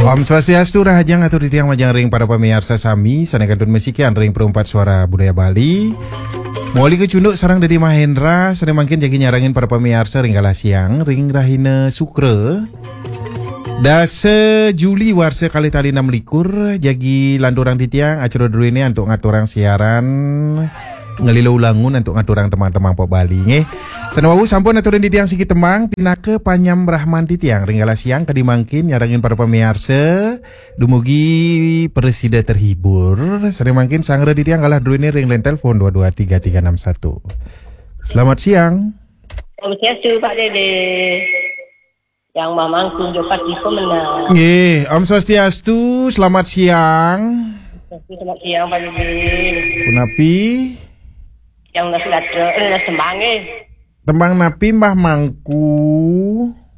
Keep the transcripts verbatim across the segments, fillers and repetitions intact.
Om Swastiastu, rahajeng atur titiang majeng ring para pamiarsa sami, sané kantun masikian ring Perumpat Suara Budaya Bali. Moli kacunduk sareng Dédé Mahendra, sané mangkin jagi nyarengin para pamiarsa ring galah siang, ring rahina Sukra. Dasa Juli warsa kalih tali enam likur, jagi lanturang titiang acara druéné antuk ngaturang siaran Ngelila Ulangun antuk ngaturang tembang-tembang pop Bali, nggih. Sané wau sampun aturin titiang siki tembang, pinaka panyambrahman titiang ring galah siang kadi mangkin nyarengin para pamiarsa, dumugi prasida terhibur. Sané mangkin sangra titiang galah druéné ring line telepon dua dua tiga tiga enam satu. Selamat siang. Om Swastiastu, Pak Dédé. Yang mamang kunjuk pati pemenang. Nggih, Om Swastiastu, selamat siang. Selamat siang, Pak Dédé. Punapi? Yang nasi gatra, eh, nasi tembang, eh. Tembang napi, Mbah Mangku?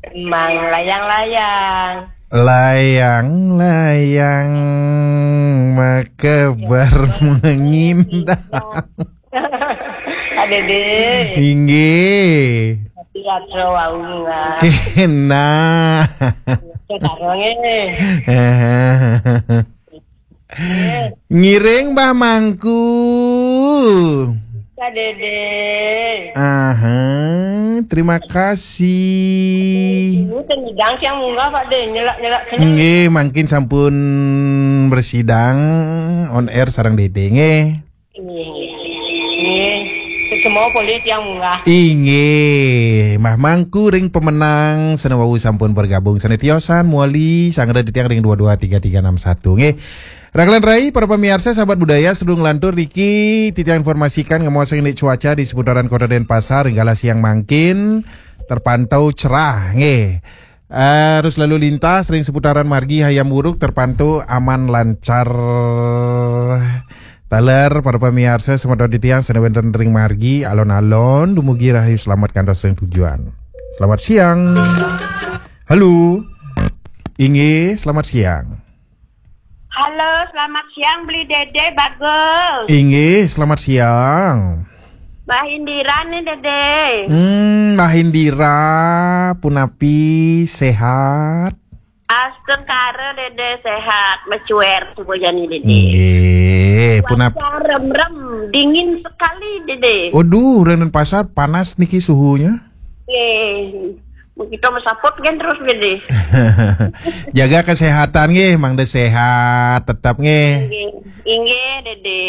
Tembang layang-layang. Layang-layang maka bermengindang. Pak Dédé. Inggih. Tapi atra wau, Mbah. Kénah. Sekarang, eh. Ngiring, Mbah Mangku. Pak Dédé. Aha, terima kasih. Ini tengidang siang munggah, Pak Dé, nyelak-nyelak kena. Nggih, mangkin sampun bersidang on air sareng Dédé, nggih. Nggih, nggih. Semua boleh tiang munggah. Inggih, Mbah Mangku ring pemenang, sané wau sampun bergabung. Sané tiosan, moli, sangra titiang ring dua dua tiga tiga enam satu, nggih. Rahajeng rai, para pamiarsa, sahabat budaya, sadurung nglantur niki, titiang informasikan ngamuasang indik cuaca di seputaran Kota Denpasar, ring galah siang mangkin, terpantau cerah, nggih. Arus lalu lintas ring seputaran margi Hayam Wuruk terpantau aman lancar. Taler para pamiarsa semeton titiang sané wénten ring margi alon-alon dumugi rahayu selamat kantos ring tujuan. Selamat siang. Halo. Inggih, selamat siang. Halo, selamat siang, Bli Dédé, Bagul. Inggih, selamat siang. Mbah Indira nih, Dédé. Hmm, Mbah Indira, punapi, sehat? Astungkara, Dédé, sehat. Mecuer semua jani, Dédé. Nggih, punapi. Cuaca remrem, dingin sekali, Dédé. Waduh, ring Denpasar panas niki suhunya. Nggih. Kita mesaput kan terus, Dédé. Jaga kesehatan nggih, mangda sehat tetap nggih. Inggih, inggih, Dédé.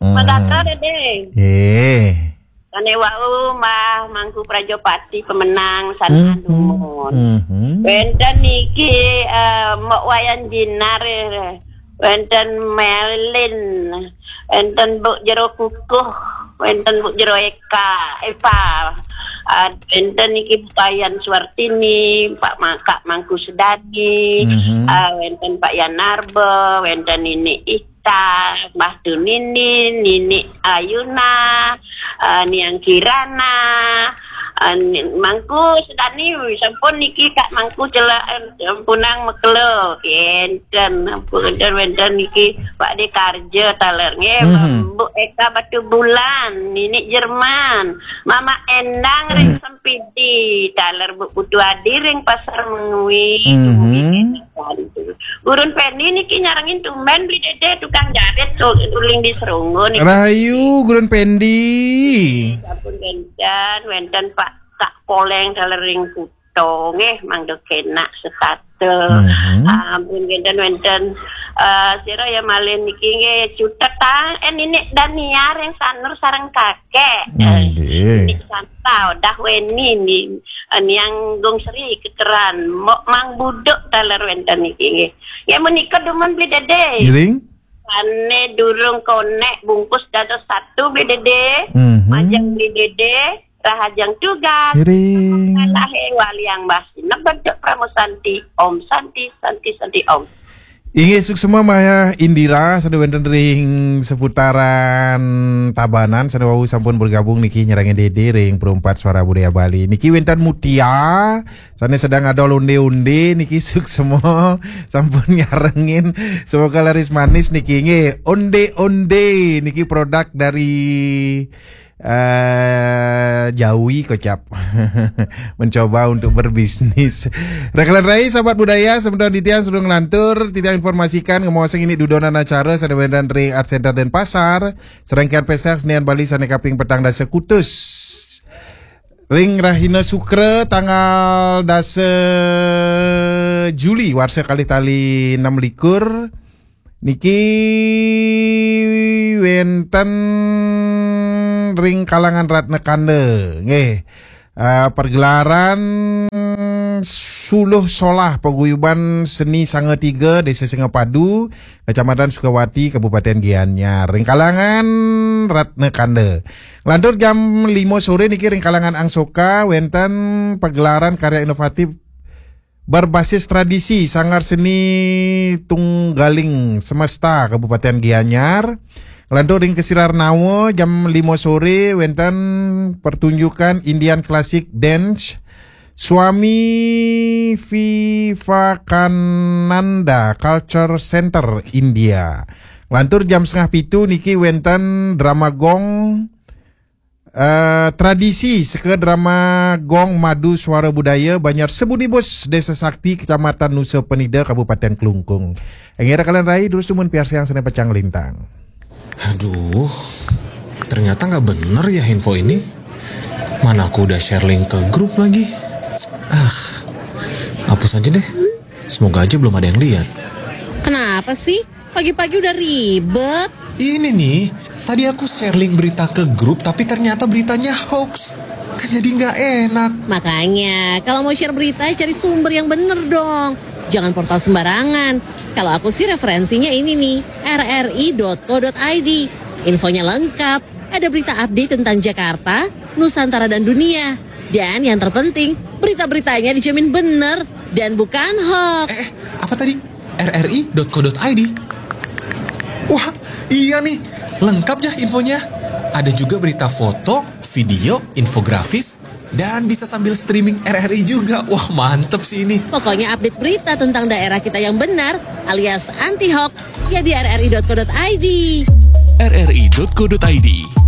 Hmm. Madata, Dédé. Nggih. Sané wau Mbah Mangku Prajapati pemenang sané Hmm, hmm, dumun. hmm, hmm. Wénten niki, eh, Mbok Wayan Jinar, eh, wénten Melin, wénten Mbok Jero Kukuh, wénten Mbok Jero Eka, Eva. Ah, wénten niki Mbok Wayan Suartini, Pak Ma-, Kak Mangku Sedani, Mhm. ah, wénten Pak Yanarba, wénten Nini Ita, Mbah Tunini, Nini Ayuna, ah, Niang Kirana, ah, ni-, Mangku Sedani, sampun niki Kak Mangku celak, eh, sampunang mekelo, kénten, ampun, wénten, wénten niki Pak Dé Karja taler, nggih, Mhm. Mbok Eka Batu Bulan, Nini Jerman, Mama Endang ring Sempidi, taler Mbok Putu Adi ring Pasar Mengwi, Mhm. dumugi kénten. Gurun Pendi niki nyarengin tumben Bli Dédé tukang jarit tu-, tuling di Serunggu niki. Rahayu, Gurun Pendi. Sampun kénten, wénten Pak Kak Poleng taler ring Kuto, nggih, mangda kénak setata. Mhm. Ampun kénten wénten, eh, sira ya malih niki nggih cutetang, eh, Ninik Dania ring Sanur sareng kakek. Eh, Nggih. Ninik Santa, Dah Weni, ni-, eh, Niang Gung Sri Kekeran, Mbok Mang Buduk taler wénten niki nggih. Ya menika dumun Bli Dédé. Ngiring? Sané durung konek bungkus dados satu Bli Dédé. Mhm. Majeng Bli Dédé, rahajeng tugas. Ngiring. Kalahé waliang bas. Nebet Pramu Santi, Om Santi, Santi, Santi, Om. Inggih, suksma Mbah Indira, sané wénten ring seputaran Tabanan, sané wau sampun bergabung niki nyarengin Dédé ring Perumpat Suara Budaya Bali. Niki wénten Mutia, sané sedang adol ondé-ondé niki suksma sampun nyarengin. Semoga laris manis niki nggih. Ondé-ondé niki produk dari Eh, jauhi kocap. Mencoba untuk berbisnis. Rekalan Rai, sahabat budaya, sementara titiang sudah ngelantur, titiang informasikan, ngomong ini dudonan acara sané wénten ring Art Center Denpasar, serangkaian pesta kesenian Bali sané kaping petang dasa kutus. Ring rahina Sukra tanggal dasa Juli warsa kalih tali enam likur, niki wénten ring kalangan Ratna Kanda, nggih. Eh, pergelaran Suluh Solah Paguyuban Seni Sanga Tiga Desa Singapadu, Kecamatan Sukawati, Kabupaten Gianyar. Ring kalangan Ratna Kanda. Lantur jam lima sore niki ring kalangan Angsoka wénten pagelaran karya inovatif berbasis tradisi Sanggar Seni Tunggaling Semesta Kabupaten Gianyar. Lantur ring Kesirar Nawa jam lima sore wénten pertunjukan Indian Classic Dance Swami Vivekananda Culture Center India. Lantur jam setengah pitu niki wénten drama gong, eh, tradisi seka drama gong Madu Suara Budaya Banjar Sebunibus, Desa Sakti, Kecamatan Nusa Penida, Kabupaten Klungkung. Inggih rekalan Rai, terus dumun piarsayang sané pacang lintang. Aduh, ternyata nggak bener ya info ini. Mana aku udah share link ke grup lagi. Ah, hapus aja deh. Semoga aja belum ada yang lihat. Kenapa sih? Pagi-pagi udah ribet. Ini nih, tadi aku share link berita ke grup tapi ternyata beritanya hoax. Kan jadi nggak enak. Makanya, kalau mau share berita, cari sumber yang bener dong. Jangan portal sembarangan. Kalau aku sih referensinya ini nih, rri.co.id. Infonya lengkap. Ada berita update tentang Jakarta, Nusantara dan dunia. Dan yang terpenting, berita-beritanya dijamin bener dan bukan hoax. Eh, apa tadi? rri.co.id. Wah, iya nih, lengkap ya infonya. Ada juga berita foto, video, infografis, dan bisa sambil streaming RRI juga. Wah, mantep sih ini. Pokoknya update berita tentang daerah kita yang benar alias anti hoax ya di rri.co.id. rri.co.id.